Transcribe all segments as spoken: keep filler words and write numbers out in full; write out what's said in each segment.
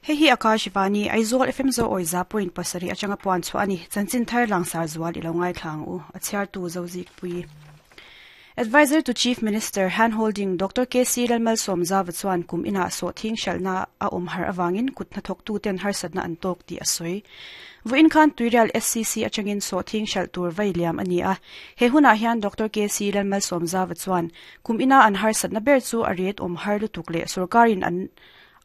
Hei hi Akashvani Aizawl F M zo oi za point pasarih atanga puan chu ani chanchin thar langsar zual ilo ngai thlang u a chhiar tu zo zik pui. Advisor to Chief Minister Handholding Doctor K C Lalmal Somza chuan kum ina so thing shalna a om har awangin kutna thok tu ten har satna an tok ti asoi. Vuin khan Tuirial S C C atangin so thing shal tur vai liam ani a. He huna hian Doctor K C Lalmal Somza chuan kum ina an har satna ber chu ariat om har lutuk le sarkarin an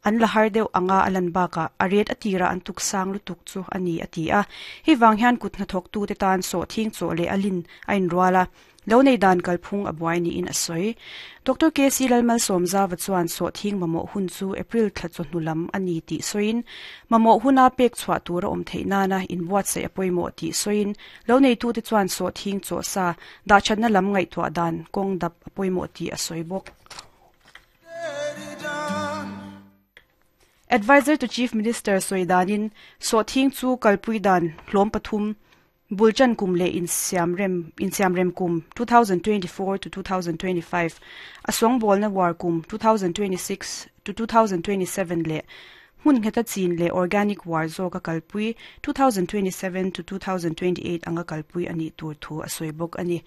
an la har deuh anga alan baka ariat atira an tuk sang lutuk chu ani ati a. Hi wang hian kutna thok tu te tan so thing cho le alin ain ruala. Lo nei dan kalphung abuai ni in asoi. Doctor K C Lalmal Somza chuan so thing mamo hun chu April thla chu hnulam ani ti soin mamo huna pek chwa tura om theina na in buat se apoimo ti soin lo nei tu te chuan so thing cho sa da channa lam ngai thwa dan kong dap apoimo ti asoi bok. Advisor to Chief Minister Soidanin so thing chu kalpui dan hlom pathum Bulchan kum le in Siam Rem in Siam Rem kum twenty twenty-four to twenty twenty-five asong bol na war kum twenty twenty-six to twenty twenty-seven le hun ngeta chin le organic war zo ka kalpui twenty twenty-seven to twenty twenty-eight anga kalpui ani tur thu asoi bok ani.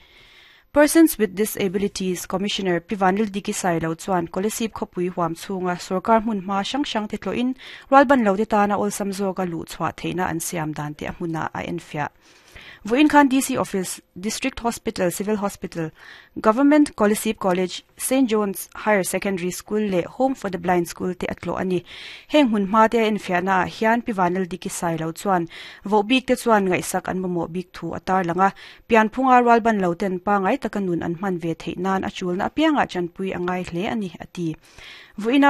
Persons with Disabilities Commissioner Pivanil Diki Sailo chuan Kolasib khopui huam chunga sarkar hmun hma sang sang te tloin ralban lo te tana olsam zo ka lu chwa theina an siam dan te hmuna a enfia. Vuin Khan D C Office, District Hospital, Civil Hospital, Government Kolasib College, Saint John's Higher Secondary School le Home for the Blind School te atlo ani. Heng hun ma te enfiana hian Pivanil Diki Sailo chuan vo bik te chuan ngai sak an mamo bik thu atar langa pian phunga ralban lo ten pa ngai takanun an man ve theinan achul na apianga chanpui angai hle ani ati. Vuina